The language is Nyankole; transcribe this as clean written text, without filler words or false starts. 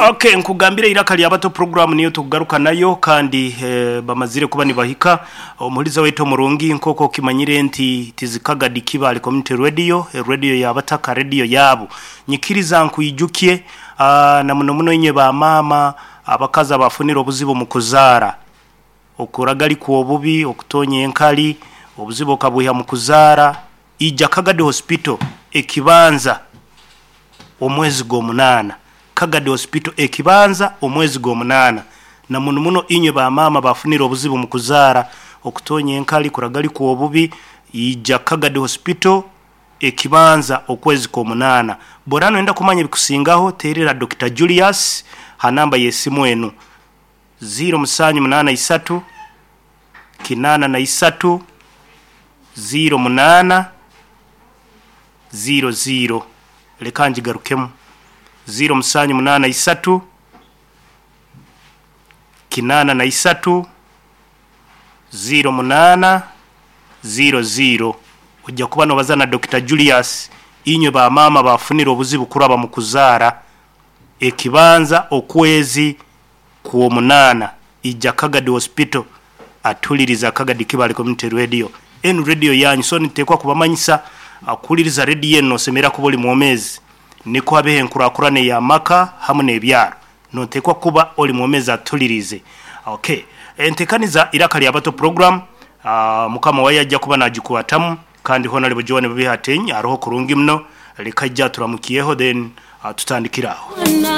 Okay, nkugambire Iraka lya Bato program niyo tukugaruka nayo kandi eh, bamazire kuba nibahika omuhuriza waitu omurungi nk'oku okimanyire nti tizikagadi Kibale Community Radio, eh, radio y'abataka, radio yaabo. Nyikiriza nkwijukye ah, na muno muno inywe ba maama abakazi abafunire obuzibu omu kuzaara. Okuragarikwa obubi, okutonya enkari, obuzibu okabwiha mu kuzaara, ija Kagadi Hospital ekibanza omwezi gw'omunaana. Kagadi Hospital ekibanza omwezi gw'omunaana. Na muno muno inywe ba maama abafunire obuzibu mu kuzaara, okutonya enkari, kuragarikwa obubi, ija Kagadi Hospital ekibanza okwezi kw'omunaana. Bw'oraba noyenda kumanya ebikusingaho, teerera Dokita Julius ha namba y'esimu enu. Ziiro musanju munaana isatu, kinaana na isatu, ziiro munaana, ziiro ziiro. Leka ngigarukemu. Ziiro musanju munaana isatu, kinaana na isatu, ziiro munaana, ziiro ziiro. Oja kuba nobaza na Dokita Julius. Inywe ba maama abafunire obuzibu kuraba mu kuzaara. Ekibanza okwezi kw'omunaana ija Kagadi Hospital atuliriza Kagadi Kibale Community Radio. Enu radio yanyu so nitutekwa kubamanyisa kuhuliriza radio enu nosemerera kuba oli mwomezi nikwo habeho enkurakurana ey'amaka hamu n'ebyaro. Notekwa kuba oli mwomezi atulirize. Ok entekaniza Iraka lya Bato program mukama wayo ajja kuba nagikwatamu kandi Honarebo Joan Babiha Ateny aroho kurungi muno. Leka aije aturamukyeho then tutandikire aho.